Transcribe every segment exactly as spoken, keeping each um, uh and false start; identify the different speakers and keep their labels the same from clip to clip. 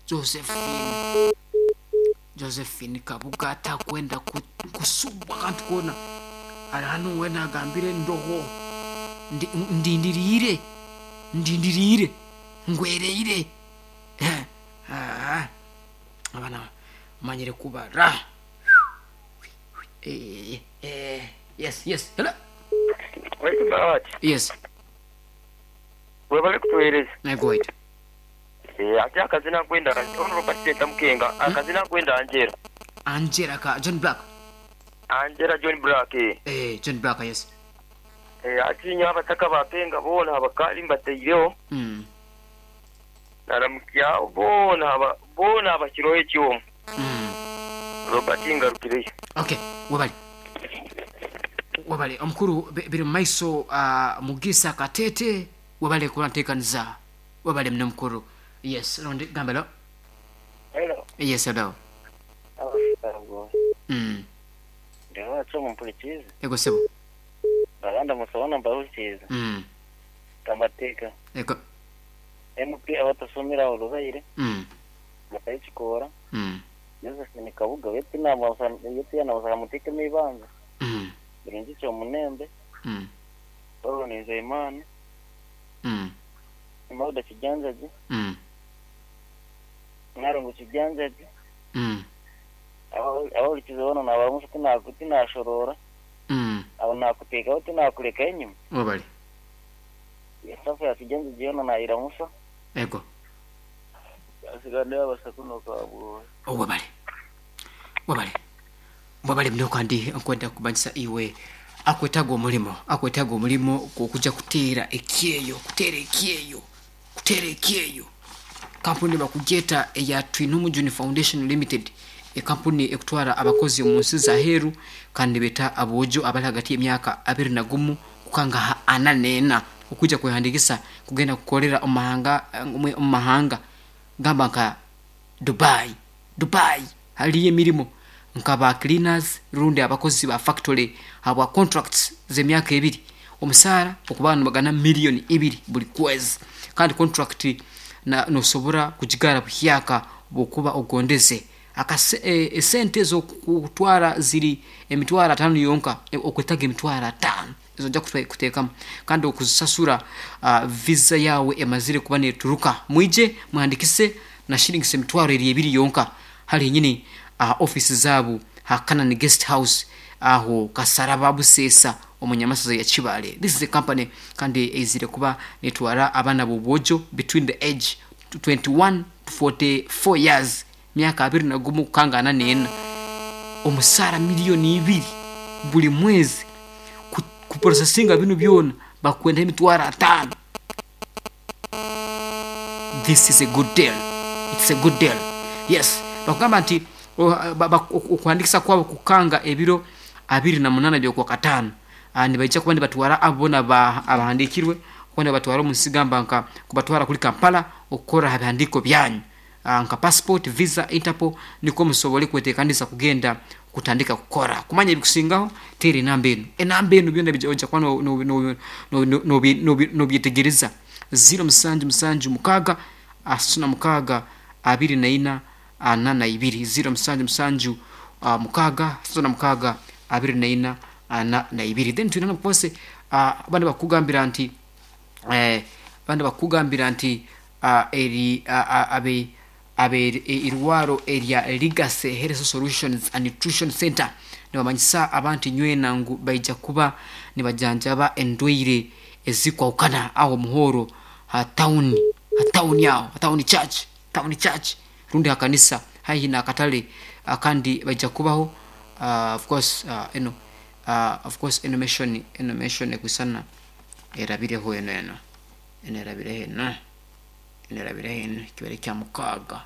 Speaker 1: Josephine, Josephine Kabuga atakwenda ku- kusubwa kantu kona. Ali hano wena agambire ndoho, Ndi- ndindiriire, ndindiriire, ngwereire. Eh, ah, abana manyire kubara. Eh, eh, yes yes hello.
Speaker 2: Waitu Bahati,
Speaker 1: Yes.
Speaker 2: webale kutuweereza.
Speaker 1: Nagoita.
Speaker 2: Eh, ate akazina nkwenda ono Robert Senta Mukenga, akazina nkwenda Angela.
Speaker 1: Angela ka John Black.
Speaker 2: Angela John Black. Eh,
Speaker 1: Eh, John Black, yes.
Speaker 2: Eh, atinya abataka bapenga boona abakali mbateireho.
Speaker 1: mm.
Speaker 2: Naramukyaho boona aba boona abakiroho ekyomu.
Speaker 1: Mm.
Speaker 2: Robert ngarukireyo.
Speaker 1: Okay, webale, webale omukuru. bi- biri mumaiso. uh, mugisa Katete, webale kulanteekaniza, webale muno mukuru. Yes, rondi gambelo.
Speaker 3: Hello.
Speaker 1: Yes, hello.
Speaker 3: Abasabwo.
Speaker 1: mm.
Speaker 3: Ndiwacho mumpulikize.
Speaker 1: Ego sebo.
Speaker 3: Baganda musabona mbahulikize.
Speaker 1: mm.
Speaker 3: Kamateka.
Speaker 1: Ego.
Speaker 3: M P abatasomera olubaire.
Speaker 1: mm.
Speaker 3: Bakayikikora.
Speaker 1: mm.
Speaker 3: Josephine Kabuga wetu nama yetu yana mutekemo ibanza.
Speaker 1: mm.
Speaker 3: Birungi cyo munembe.
Speaker 1: mm.
Speaker 3: Paulo Nizeyimana.
Speaker 1: mm.
Speaker 3: Mauda Kijanjaji.
Speaker 1: mm.
Speaker 3: Narongo Kijanjaji.
Speaker 1: mm.
Speaker 3: Abahulikize bona nabamusa tinashorora.
Speaker 1: mm.
Speaker 3: Abo nakutekaho tinakureka enyuma.
Speaker 1: Webale.
Speaker 3: Esafu ya Kijanjaji yona nayiramusa.
Speaker 1: Ego.
Speaker 3: Asigande abasakuno kabwo.
Speaker 1: Webale, webale, webale muno. Kandi nkwenda kumanyisa iwe akwetaaga omulimo, akwetaaga omulimo okujja kuteera ekyeyo, kuteera ekyeyo, kuteera ekyeyo. Kampuni bakugyeta eya Twinomujuni Foundation Limited, ekampuni ekutwara abakozi omu nsi zaheeru, kandi beta aboojo abali hagati y'emyaka abiri na gumu kukanga ana nena okwijja kwehandikisa kugenda kukolera omu mahanga, omu mahanga gamba nka Dubai. Dubai haliyo emirimu nka ba cleaners rundi abakozi ba factory habwa contracts z'emyaka ebiri, omusaara okuba nibagana miliyoni ibiri buli kwezi, kandi contract na nosobora kugigara buhyaka bwokuba ogondeze. Akase, e, esente ez'okutwara ziri emitwaro atano yonka. e, okwetaga emitwaro atano ezo ojja kute- kuteekamu kandi okuzisasura uh, visa yawe emazire kuba neturuka. Mwije muhandikise na shillings emitwaro eri ebiri yonka. Hali nyini uh, office zaabu ha Canaan Guest House aho Kasaraba Buseesa omunyamasaza ya Kibale. This is a company kandi eizire kuba netwara abaana b'obwojo between the age twenty-one to forty-four years, myaka abiri na gumu kukanga ana nena, omusaara miliyoni ibiri buli mwezi. Ku- kuprosesinga binu byona bakwenda emitwaro atano. This is a good deal, it's a good deal, yes. Bakugamba nti o- ba- ba- okuhandikisa kwabo kukanga ebiro abiri na munana byokwa kataano. Ah, nibaija kuba nibatwara abo bona ba- abahandikirwe kuba nibatwara omu nsi gamba nka kubatwara kuri Kampala okukora ha bihandiko byanyu, Ah, nka passport, visa, Interpol, niko musobole kwetekanisa kugenda kutandika kukora. Kumanya ebikusingaho teera enamba enu, enamba enu byona bija- ojja kuba no- no- no- no- no- nobi- nobi- nobyetegereza: ziro musanju musanju mukaaga asatu na mukaaga abiri na ina ana na ibiri, ziro musanju musanju uh, mukaaga asatu na mukaaga abiri na ina ana na ibiri. Then twina nokose uh, abandi bakugambira nti eh, abandi bakugambira nti uh, eri uh, uh, abe abe irwaro erya Legacy Health Solutions and Nutrition Center nibamanyisa abantu nywena ngu baija kuba nibajanjaba endwaire ezikwahukana aho muhoro ha town, ha town aho ha town church, town church rundi ha kanisa haihi na akatale. uh, kandi baija kubaho uh, of course uh, eno uh, of course eno mission, eno mission ekwisana erabireho eno eno eno erabireho eno eno erabireho eno kibere kya mukaaga,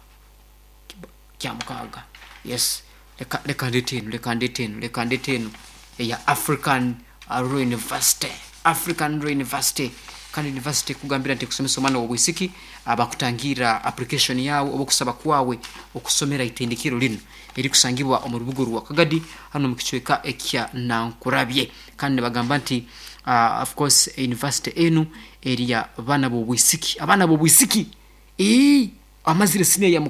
Speaker 1: Kiba- kya mukaaga, yes. Leka leka ndete eno, leka ndete eno, leka ndete eno eya African uh, Royal University, African Royal University. Kandi university kugambira nti kusomesa omwana wobwisiki, abakutangira application yawe oba okusaba kwawe okusomera itendekero lino erikusangibwa omu rubuga rwa Kagadi hano mu kicweka ekya Nankurabye. Kandi nibagamba nti uh, of course university enu eriya baana b'obwisiki, abaana b'obwisiki ii amazire siniya ya.